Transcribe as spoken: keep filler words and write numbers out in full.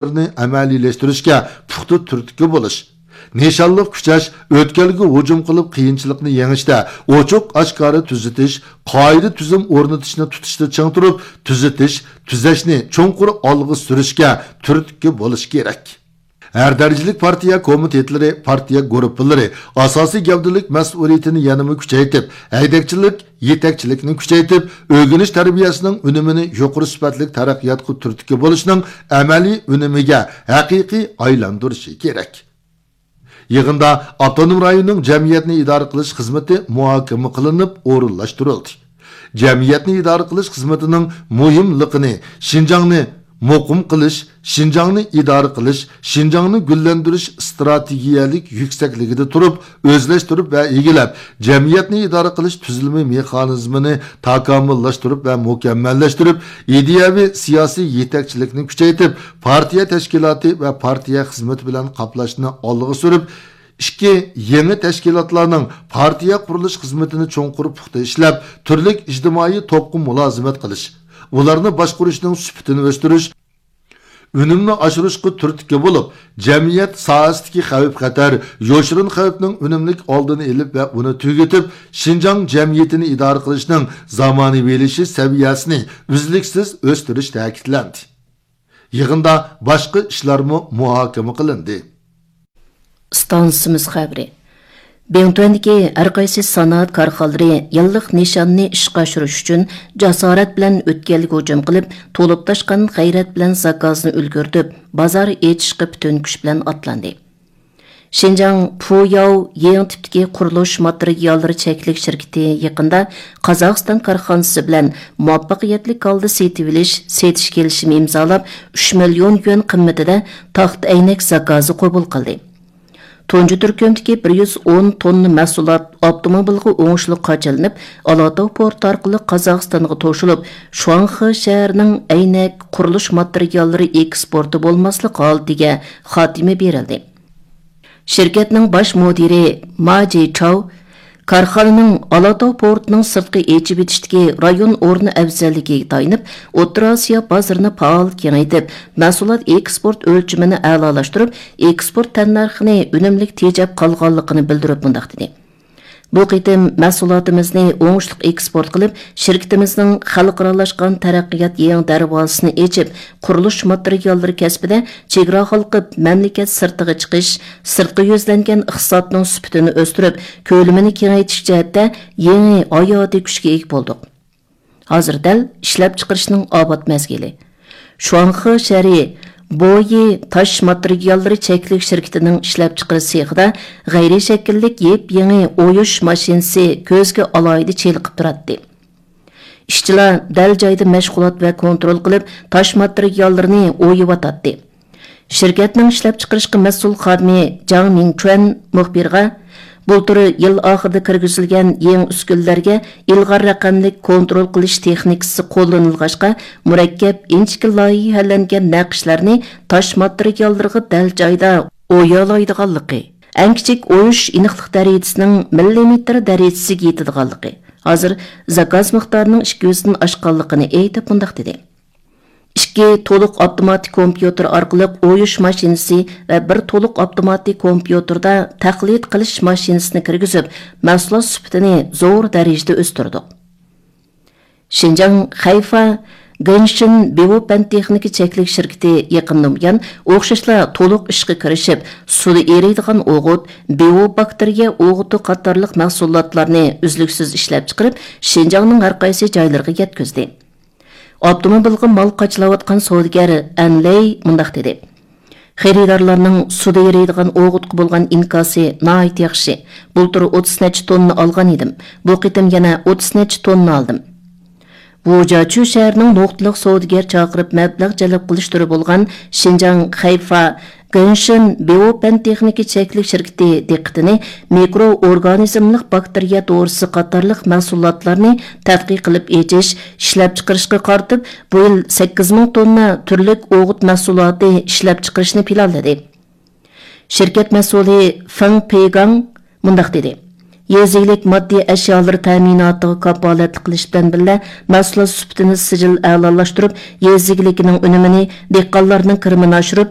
ئەمەلىيلەشتۈرۈشكە پۇختا تۈرتكە بولۇش، نىشانلىق كۈچەش، ئۆتكەلگە ھۇجۇم قىلىپ قىيىنچىلىقنى يېڭىشتە ئوچۇق ئاشكارا تۈزىتىش، قائىدە تۈزۈم ئورنىتىشنى تۇتۇشتا چىڭ تۇرۇپ، تۈزىتىش، تۈزەشنى چوڭقۇر ئالغا سۈرۈشكە تۈرتكە بولۇش كېرەك. ھەر دەرىجىلىك پارتىيە كومىتېتلىرى، پارتىيە گۇرۇپپىلىرى، ئاساسىي گەۋدىلىك مەسئۇلىيىتىنى يەنىمۇ كۈچەيتىپ، ھەيدەكچىلىك، يېتەكچىلىكنى كۈچەيتىپ، ئۆگىنىش تەربىيەسىنىڭ ئۈنۈمىنى يۇقىرى سۈپەتلىك تەرەققىياتقا تۈرتكە بولۇشنىڭ ئەمەلىي ئۈنۈمىگە ھەقىقىي ئايلاندۇرۇشى كېرەك. يىغىندا ئاپتونوم رايوننىڭ جەمئىيەتنى ئىدارە قىلىش خىزمىتى مۇھاكىمە قىلىنىپ ئورۇنلاشتۇرۇلدى. جەمئىيەتنى ئىدارە قىلىش خىزمىتىنىڭ مۇھىملىقىنى، شىنجاڭنى مۇقىم قىلىش، شىنجاڭنى ئىدارە قىلىش، شىنجاڭنى گۈللەندۈرۈش ئىستراتېگىيەلىك يۈكسەكلىكىدە تۇرۇپ ئۆزلەشتۈرۈپ ۋە ئىگىلەپ، جەمئىيەتنى ئىدارە قىلىش تۈزۈلمە مېخانىزمىنى تاكامۇللاشتۇرۇپ ۋە مۇكەممەللەشتۈرۈپ، ئىدىيەۋى سىياسىي يېتەكچىلىكنى كۈچەيتىپ، پارتىيە تەشكىلاتى ۋە پارتىيە خىزمىتى بىلەن قاپلاشنى ئالغا سۈرۈپ، ئىككى، يېڭى تەشكىلاتلارنىڭ پارتىيە قۇرۇلۇش خىزمىتىنى چوڭقۇر پۇختا ئىشلەپ، تۈرلۈك ئىجتىمائىي توپقا مۇلازىمەت قىلىش، ئۇلارنى باشقۇرۇشنىڭ سۈپىتىنى ئۆستۈرۈش، ئۈنۈمنى ئاشۇرۇشقا تۈرتكە بولۇپ، جەمئىيەت ساھەسىدىكى خەۋپ-خەتەر، يوشۇرۇن خەۋپنىڭ ئۈنۈملۈك ئالدىنى ئېلىپ ۋە ئۇنى تۈگىتىپ، شىنجاڭ جەمئىيىتىنى ئىدارە قىلىشنىڭ زامانىۋىلىشىش سەۋىيەسىنى ئۈزلۈكسىز ئۆستۈرۈش تەكىتلەندى. يىغىندا باشقا ئىشلارمۇ مۇھاكىمە قىلىندى. ئىستانسىمىز خەۋىرى. بىڭتۈەندىكى ھەرقايسى سانائەت كارخانىلىرى يىللىق نىشاننى ئىشقا ئاشۇرۇش ئۈچۈن جاسارەت بىلەن ئۆتكەلگە ھۇجۇم قىلىپ، تولۇپ تاشقان غەيرەت بىلەن زاكازنى ئۈلگۈرتۈپ، بازار ئېچىشقا پۈتۈن كۈچ بىلەن ئاتلاندى. شىنجاڭ پۇياۋ يېڭى تىپتىكى قۇرۇلۇش ماتېرىياللىرى چەكلىك شىركىتى يېقىندا قازاقىستان كارخانىسى بىلەن مۇۋەپپەقىيەتلىك ھالدا سېتىۋېلىش، سېتىش كېلىشىمى ئىمزالاپ، ئۈچ مىليون يۈەن قىممىتىدە تاختا ئەينەك زاكازى قوبۇل قىلدى. تۇنجى تۈركۈمدىكى بىر يۈز ئون توننا مەھسۇلات ئاپتوموبىلغا ئوڭۇشلۇق قاچىلىنىپ، ئالاتاۋ پورتى ئارقىلىق قازاقىستانغا توشۇلۇپ، شۇاڭخې شەھىرىنىڭ ئەينەك قۇرۇلۇش ماتېرىياللىرى ئېكسپورتى بولماسلىق ھالىتىگە خاتىمە بېرىلدى. شىركەتنىڭ باش مۇدىرى ما جىچاۋ كارخانىنىڭ ئالاتاۋ پورتىنىڭ سىرتقى ئېچىۋېتىشتىكى رايون ئورنى ئەۋزەللىكىگە تايىنىپ، ئوتتۇرا ئاسىيا بازىرىنى پائال كېڭەيتىپ، مەھسۇلات ئېكسپورت ئۆلچىمىنى ئەلالاشتۇرۇپ، ئېكسپورت تەننەرخىنى ئۈنۈملۈك تېجەپ قالغانلىقىنى بىلدۈرۈپ مۇنداق دېدى: بۇ قېتىم مەھسۇلاتىمىزنى ئوڭۇشلۇق ئېكسپورت قىلىپ، شىركىتىمىزنىڭ خەلقئارالاشقان تەرەققىيات يېڭى دەرۋازىسىنى ئېچىپ، قۇرۇلۇش ماتېرىياللىرى كەسپىدە چېگرا ھالقىپ مەملىكەت سىرتىغا چىقىش، سىرتقا يۈزلەنگەن ئىقتىسادنىڭ سۈپىتىنى ئۆستۈرۈپ، كۆلىمىنى كېڭەيتىش جەھەتتە يېڭى ھاياتىي كۈچكە ئىگە بولدۇق. ھازىر دەل ئىشلەپچىقىرىشنىڭ ئاۋات مەزگىلى. شۇاڭخې شەھىرى بويى تاش ماتېرىياللىرى چەكلىك شىركىتىنىڭ ئىشلەپچىقىرىش سېخىدا غەيرىي شەكىللىك يېپيېڭى ئويۇش ماشىنىسى كۆزگە ئالاھىدە چېلىقىپ تۇراتتى. ئىشچىلار دەل جايدا مەشغۇلات ۋە كونترول قىلىپ، تاش ماتېرىياللىرىنى ئويۇۋاتاتتى. شىركەتنىڭ ئىشلەپچىقىرىشقا مەسئۇل خادىمى جاڭ مىڭچۈەن مۇخبىرغا، بۇلتۇر يىل ئاخىرىدا كىرگۈزۈلگەن يېڭى ئۈسكۈنىلەرگە ئىلغار رەقەملىك كونترول قىلىش تېخنىكىسى قوللىنىلغاچقا، مۇرەككەپ، ئىنچىكە لايىھەلەنگەن نەقىشلەرنى تاش ماتېرىياللىرىغا دەل جايدا ئويالايدىغانلىقى، ئەڭ كىچىك ئويۇش ئېنىقلىق دەرىجىسىنىڭ مىللىمېتىر دەرىجىسىگە يېتىدىغانلىقى، ھازىر زاكاز مىقدارىنىڭ ئىككى يۈزدىن ئاشقانلىقىنى ئېيتىپ مۇنداق دېدى: ئىككى تولۇق ئاپتوماتىك كومپيۇتېر ئارقىلىق ئويۇش ماشىنىسى ۋە بىر تولۇق ئاپتوماتىك كومپيۇتېردا تەقلىد قىلىش ماشىنىسىنى كىرگۈزۈپ، مەھسۇلات سۈپىتىنى زور دەرىجىدە ئۆستۈردۇق. شىنجاڭ خەيفا گېنشىن بىۋو پەن تېخنىكا چەكلىك شىركىتى يېقىندىن بۇيان ئوخشاشلا تولۇق ئىشقا كىرىشىپ، سۇدا ئېرىيدىغان ئوغۇت، بىۋو باكتېرىيە ئوغۇتى قاتارلىق مەھسۇلاتلارنى ئۈزلۈكسىز ئىشلەپچىقىرىپ، شىنجاڭنىڭ ھەرقايسى جايلىرىغا يەتكۈزدى. ئاپتوموبىلغا مال قاچىلاۋاتقان سودىگەر ئەن لەي مۇنداق دېدى: خېرىدارلارنىڭ سۇدا ئېرىيدىغان ئوغۇتقا بولغان ئىنكاسى ناھايىتى ياخشى. بۇلتۇر ئوتتۇز نەچچە توننا ئالغان ئىدىم. بۇ قېتىم يەنە ئوتتۇز نەچچە توننا ئالدىم. ۋۇجياچۈ شەھىرىنىڭ نۇقتىلىق سودىگەر چاقىرىپ مەبلەغ جەلپ قىلىش تۈرى بولغان شىنجاڭ خەيفا گېنشىن بىۋو پەن تېخنىكا چەكلىك شىركىتى دىققىتىنى مىكرو ئورگانىزملىق باكتېرىيە دورىسى قاتارلىق مەھسۇلاتلارنى تەتقىق قىلىپ ئېچىش، ئىشلەپچىقىرىشقا قارىتىپ، بۇ يىل سەككىز مىڭ توننا تۈرلۈك ئوغۇت مەھسۇلاتى ئىشلەپچىقىرىشنى پىلانلىدى. شىركەت مەسئۇلى فېڭ پېيگاڭ مۇنداق دېدى: يېزا ئىگىلىك ماددىي ئەشيالىرى تەمىناتىغا كاپالەتلىك قىلىش بىلەن بىللە، مەھسۇلات سۈپىتىنى سىجىل ئەلالاشتۇرۇپ، يېزا ئىگىلىكىنىڭ ئۈنۈمىنى، دېھقانلارنىڭ كىرىمىنى ئاشۇرۇپ،